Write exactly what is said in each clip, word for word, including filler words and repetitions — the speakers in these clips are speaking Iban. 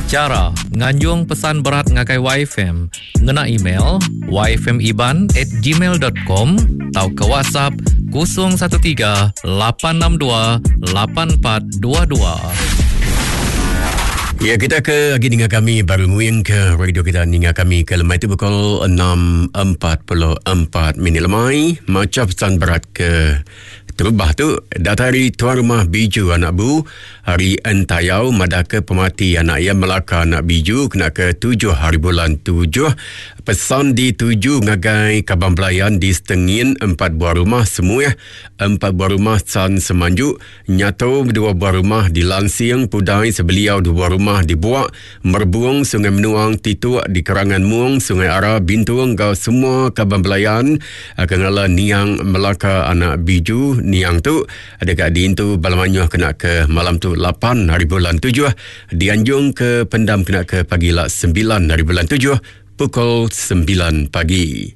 Chara nganjung pesan berat ngagai Y F M ngena email yfmiban at gmail dot com atau ke WhatsApp kosong satu tiga, lapan enam dua, lapan empat dua dua. Ya, kita ke lagi dengar kami baru nguing ke radio kita, dengar kami ke lemai itu pukul enam empat puluh empat minit lemai. Macam pesan berat ke terubah tu datari tuan rumah Biju anak bu hari Entayau, madah ke pemati anak ia Melaka anak Biju kena ke tujuh hari bulan tujuh. Pesan dituju ngagai kaban belayan di Setengin empat buah rumah, semua empat buah rumah San Semanju, Nyato dua buah rumah di Lansing, Pudai Sebeliau dua buah rumah di Buak, Merbuang, Sungai Menuang, Tituk di Kerangan Muang, Sungai Ara, Bintung, kau semua kaban belayan akan ngala Niang Melaka anak Biju. Niang tu ada kat diintu Balamanyuh kena ke malam tu lapan hari bulan tujuh, dianjung ke pendam kena ke pagi lah sembilan hari bulan tujuh pukul sembilan pagi.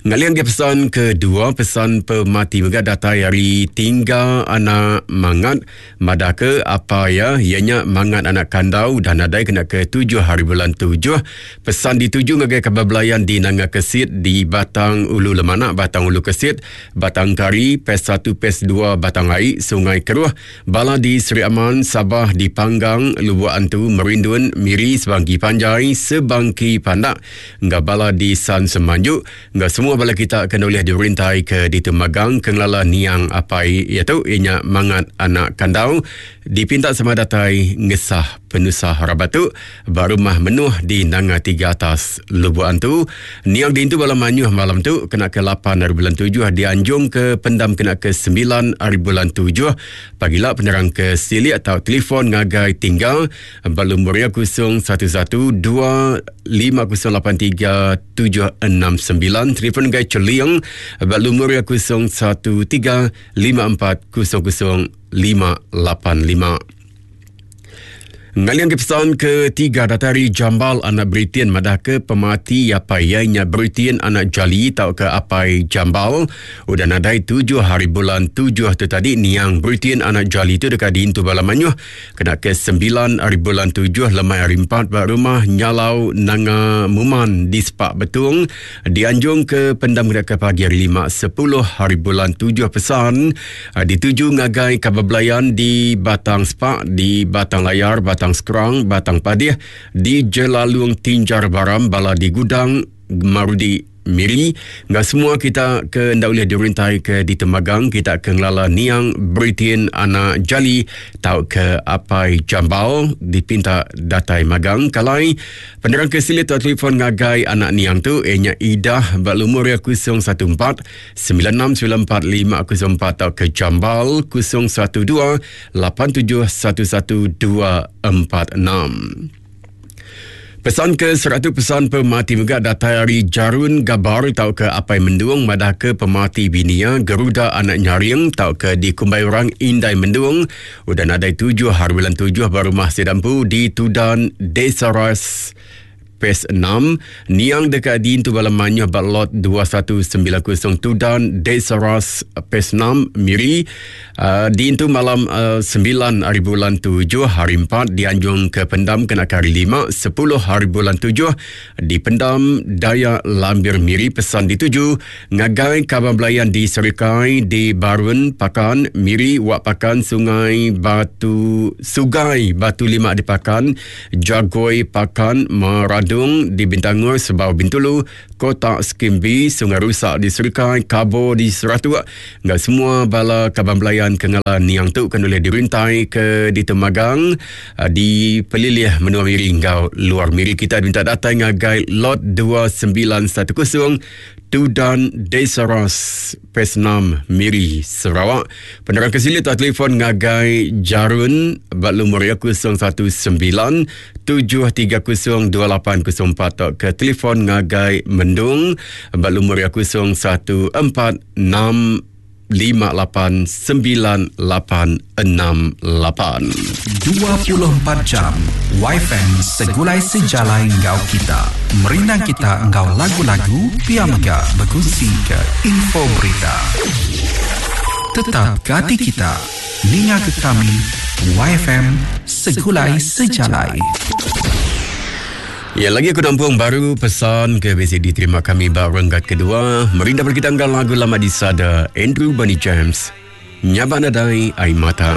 Ngalian ke pesan kedua, pesan pemati juga datai hari tinggal anak Mangat. Madah ke apa ya, ianya Mangat anak Kandau dan nadai kena ke tujuh hari bulan tujuh. Pesan dituju ngagai kaban belayan di Nanga Kesit, di Batang Ulu Lemanak, Batang Ulu Kesit, Batang Kari, P E S satu, P E S dua, Batang Ai, Sungai Keruh, Bala di Seri Aman, Sabah di Panggang, Lubuk Antu, Merindun, Miri, Sebangki Panjai, Sebangki Pandak, Enggak bala di San Semanjuk, enggak semua bala kita kena oleh dirintai ke di Temagang Kenglala Niang Apai iaitu ianya Mangat anak Kandau, dipinta sama datai ngesah penusah rabatu barumah menuh di Nanga Tiga Atas, Lubuk Antu. Niang dintu malam manyuh malam tu kena ke lapan hari bulan tujuh, dianjung ke pendam kena ke sembilan hari bulan tujuh pagila. Penerang ke silik atau telefon ngagai tinggal balum muria kosong satu satu dua lima kosong lapan tiga tujuh enam sembilan, telefon gai Celiang balum muria kosong satu tiga lima empat kosong kosong lima lapan lima. Ngalian ke pesan ketiga datari Jambal anak Britain, madah ke pemati apa ianya Britain anak Jali atau ke apai Jambal udah nadai tujuh hari bulan tujuh tu tadi. Niang Britain anak Jali tu dekat diintu bala manyuh kena ke sembilan hari bulan tujuh lemai hari empat ba rumah Nyalau Nanga Muman di Sepak Betung, dianjung ke pendam kena ke pagi hari lima sepuluh hari bulan tujuh. Pesan ah, dituju ngagai kaban belayan di Batang Sepak, di Batang Layar, Batang Sekerang, Batang Padih, di Jelalung Tinjar Baram, Bala di Gudang, Marudi Miri. Enggak semua kita ke ndak boleh dirintai ke di Temagang, kita ke ngelala Niang Britain anak Jali tau ke Apai Jambal, dipinta datai magang kalai. Penerang ke silit atau telefon ngagai anak Niang tu ianya Idah balumur ya kosong satu empat sembilan enam sembilan empat lima kosong empat atau ke Jambal kosong satu dua lapan tujuh satu satu dua empat enam. Pesan ke seratus, pesan pemati juga datai hari Jarun Gabar tau ke Apai Mendung, madah ke pemati binia Geruda anak Nyaring tau ke di Kumbai orang Indai Mendung udah nadai tujuh hari bulan tujuh baru rumah Sedampu di Tudan Desa Ras P E S enam. Niang dekat di Intu Balam Manyuh Lot dua satu sembilan kosong Tudan Desa Ras P E S enam Miri, uh, di Intu malam uh, sembilan hari bulan tujuh hari empat, dianjung ke pendam kena ke hari lima sepuluh hari bulan tujuh di pendam Daya Lambir Miri. Pesan dituju ngagai kaban belayan di Serikai, di Barun Pakan Miri, Wak Pakan, Sungai Batu Sugai Batu Lima di Pakan, Jagoi Pakan, Maradung di Bintangor, Sebau Bintulu, Kota Skimbi, Sungai Rusak di Serikai, Kabo di Seratuk. Enggak semua bala kaban belayan kengala Niang tu kan boleh dirintai ke di Temagang ah, di Pelilih Menua Miri engkau luar Miri, kita minta datang ngagai lot dua sembilan satu kosong Tudan Desa Ras P E S enam Miri Sarawak. Penerang ke sini atau telefon ngagai Jarun Bak lumur ya kosong satu sembilan tujuh tiga kosong dua lapan kosong empat atau ke telefon ngagai Mendung Bak lumur ya kosong satu empat enam lima lapan sembilan lapan enam lapan. dua puluh empat jam Y F M segulai sejalai engkau kita. Merindang kita engkau lagu-lagu pia mega berkongsi ke info berita. Tetap gati kita. Ninga ke kami Y F M Segulai Sejalai. Ya, lagi aku nampung baru pesan ke bisi diterima kami ba renggat kedua. Merindah kita anggal lagu lama di sada Andrew Bunny James. Nyabak Nadai Ai Mata.